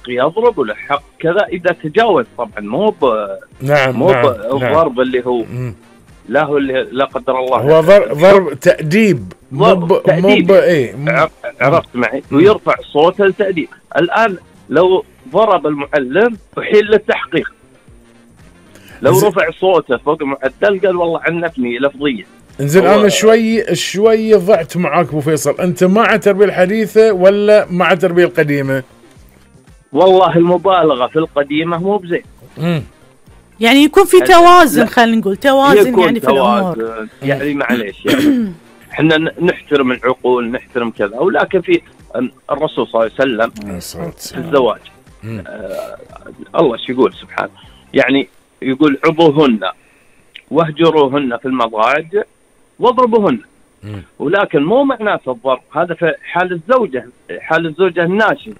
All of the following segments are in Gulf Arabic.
يضرب وله حق كذا إذا تجاوز طبعا، مو الضرب اللي هو لا هو اللي لا قدر الله هو ضرب تأديب، تأديب. عرفت معي؟ ويرفع صوته لتأديب. الآن لو ضرب المعلم أحيل للتحقيق، لو رفع صوته فوق المعدل قال والله عنفني لفظيا. انزين انا شوي ضعت معاك ابو فيصل، انت مع التربيه الحديثه ولا مع التربيه القديمه؟ والله المبالغه في القديمه مو بزين. يعني يكون في توازن، خلينا نقول توازن يعني في الامور. يعني معليش يعني احنا نحترم العقول، نحترم كذا، ولكن في الرسول صلى الله عليه وسلم في الزواج الله شو يقول سبحانه، يعني يقول عظوهن واهجروهن في المضاجع واضربوهن. ولكن مو معناته الضرب، هذا في حال الزوجة الناشئة.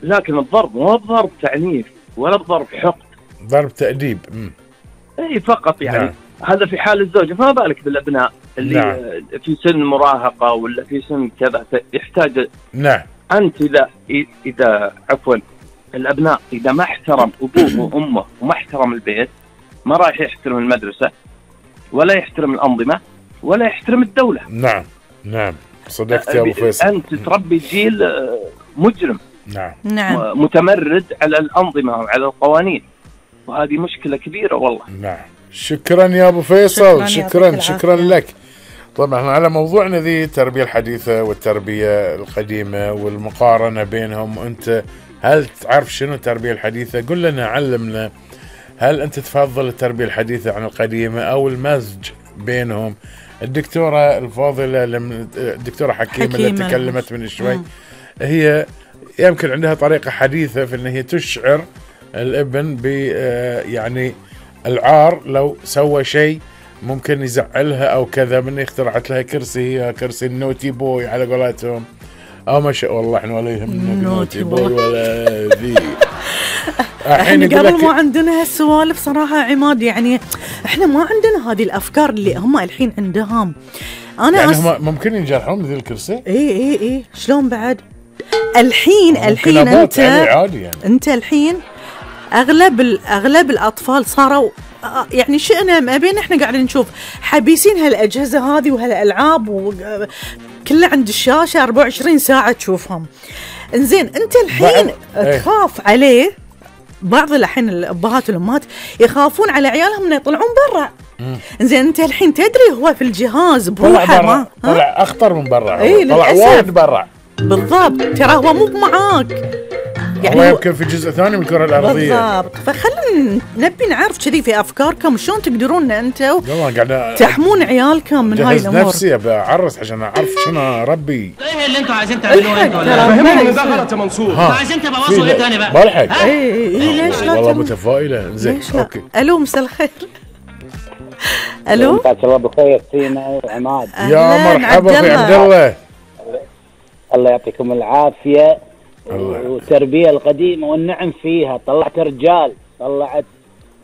لكن الضرب مو ضرب تعنيف ولا ضرب حقد، ضرب تأديب. اي فقط يعني هذا في حال الزوجة، فما بالك بالابناء اللي في سن مراهقة ولا في سن كذا يحتاج. انت اذا عفوا الابناء اذا ما احترم ابوه وامه وما احترم البيت، ما راح يحترم المدرسة ولا يحترم الأنظمة ولا يحترم الدولة. نعم صدقت يا أبو فيصل. أنت تربي جيل مجرم، متمرد على الأنظمة وعلى القوانين، وهذه مشكلة كبيرة والله. شكرا يا أبو فيصل، شكرا لك. طبعا احنا على موضوعنا ذي التربية الحديثة والتربية القديمة والمقارنة بينهم، وأنت هل تعرف شنو التربية الحديثة؟ قل لنا، علمنا، هل أنت تفضل التربية الحديثة عن القديمة أو المزج بينهم؟ الدكتورة الفاضلة الدكتورة حكيمة اللي تكلمت من شوي، هي يمكن عندها طريقة حديثة في أن هي تشعر الابن ب يعني العار لو سوى شيء ممكن يزعلها أو كذا، من اخترعت لها كرسي النوتي بوي على قولتهم. ما شاء الله احنا ولا يهمنا نوتي بوي ولا ذي. احنا قبل ما عندنا هالسوالف صراحة عماد، يعني احنا ما عندنا هذه الافكار اللي هم الحين عندهم. انا يعني هم ممكن ينجرحون بذي الكرسي. اي شلون بعد الحين انت يعني. انت الحين اغلب الاطفال صاروا يعني شئنا ما بين، احنا قاعدين نشوف حبيسين هالاجهزة هذه وهالالعاب كله عند الشاشة 24 ساعة تشوفهم. انزين انت الحين تخاف عليه. بعض الحين الابهات والامهات يخافون على عيالهم انه يطلعون برا. انزين انت الحين تدري هو في الجهاز بروحه طلع اخطر من برا، طلع وايد برا بالضبط. ترى هو مو معاك، يعني هو يمكن في جزء ثاني من الكرة الأرضية بالضبط. فخلنا نبي نعرف كذي في أفكاركم شلون تقدرون أنتوا تحمون عيالكم من هاي الأمور. نفسي بعرس عشان أعرف شنو أربي. إيه اللي أنتوا عايزين تعملوه أنتوا؟ فهموني من داخل يا منصور. عايزين تبوظوا إيه ثاني بقى؟ بلحق. ليش لا؟ والله متفائلة. زين أوكي. ألو مساء الخير. ألو. مساء الله بالخير سينا وعماد. يا مرحبا في عبد الله. الله يعطيكم العافية. والتربية القديمة والنعم فيها، طلعت رجال،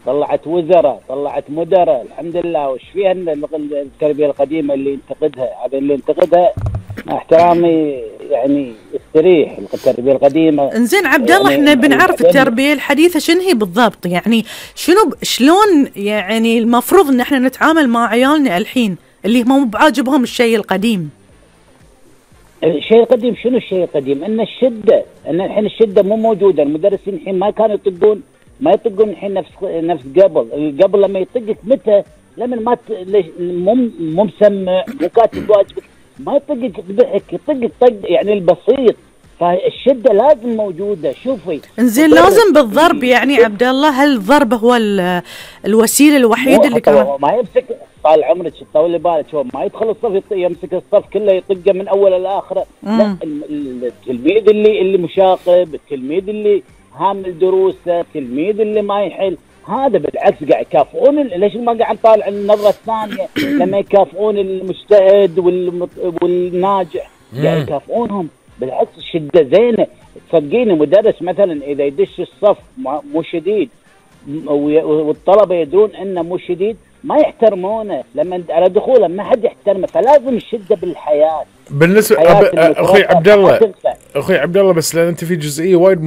طلعت وزراء، طلعت مدراء، الحمد لله. وش فيها التربية القديمة اللي ينتقدها؟ هذا اللي ينتقدها مع احترامي يعني يستريح. التربية القديمة. انزين عبد الله، احنا بنعرف التربية الحديثة شنو هي بالضبط، يعني شلون يعني المفروض ان احنا نتعامل مع عيالنا الحين اللي مو بعاجبهم الشيء القديم. الشيء القديم شنو الشيء القديم؟ ان الحين الشده مو موجوده. المدرسين الحين ما كانوا ما يطقون الحين نفس قبل لما يطقك متى؟ لما ما مو مسمع، مو كاتب واجبك، ما يطقك بضحك، يطقك طق يعني البسيط. فالشده لازم موجوده. شوفي انزين لازم بالضرب يعني عبد الله، هل الضرب هو الوسيله الوحيده اللي كان ما يمسك؟ طال عمرك طولي بالك، هو ما يدخل الصف يمسك الصف كله يطقه من اول لاخره. لا، التلميذ اللي مشاغب، التلميذ اللي هامل دروسه، التلميذ اللي ما يحل، هذا بالعكس قاعد يكافئون. ليش ما قاعد نطالع النظره الثانيه لما يكافئون المجتهد والناجح؟ قاعد يكافئونهم. بالعكس الشده زينه. صدقيني مدرس مثلا اذا يدش الصف مو شديد والطلبه يدرون انه مو شديد، ما يحترمونه. لما على دخوله ما حد يحترمه. فلازم الشده بالحياه. بالنسبه اخوي عبد الله بس لان انت في جزئيه وايد